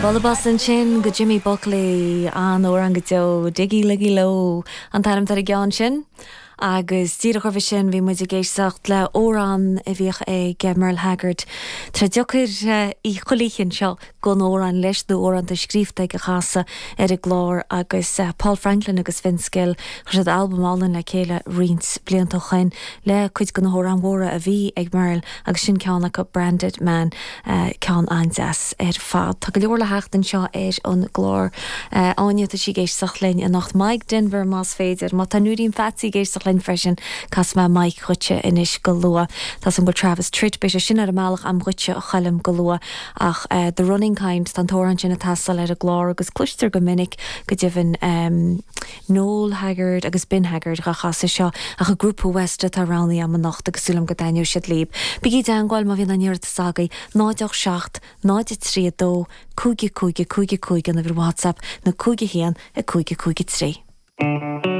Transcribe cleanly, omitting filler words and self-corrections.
Bualadh bos ansin go Jimmy Buckley, an-amhrán go deo, Diggy Liggy Ló an t-ainm atá ar an gceann sin. Agus díreach roimhe sin bhí muid ag éisteacht le amhrán a bhíodh ag Merle Haggard. Tá sé deacair chuile oíche anseo gan amhrán leis nó amhrán atá scríofa aige a chasadh ar an gclár agus Paul Franklin agus Vince Gill, chuir siad albam álainn le chéile roinnt blianta ó shoin le cuid de na hamhráin mhóra a bhí ag Merle agus sin ceann acu, Branded Man. Ceann an-deas ar fad. Tá go leor le theacht anseo ar an gclár. Áine, tá sí ag éisteacht linn anocht. Mike Denver más féidir. Má tá Núirín Pheatsaí ag éisteacht linn freisin, casfaidh mé Mike dhuitse anois go luath. Tá 's agam go bhfuil Travis Tritt, beidh sé sin ar an mbealach a'm dhuitse a Choilm go luath. Ach The Running Kind, tá an t-amhrán sin ag teastáil ar an gclár agus cloistear go minic go deimhin. Noel Haggard agus Ben Haggard dhá chasadh seo ach an grúpa West atá roghnaithe a'm anocht agus súil a'm go dtaitneoidh siad libh. Bígí i dteangmháil má bhíonn aon iarratas agaibh, 0 8 7 0 3 2 5 5 5 5 an uimhir WhatsApp nó 5 1 5 5 3.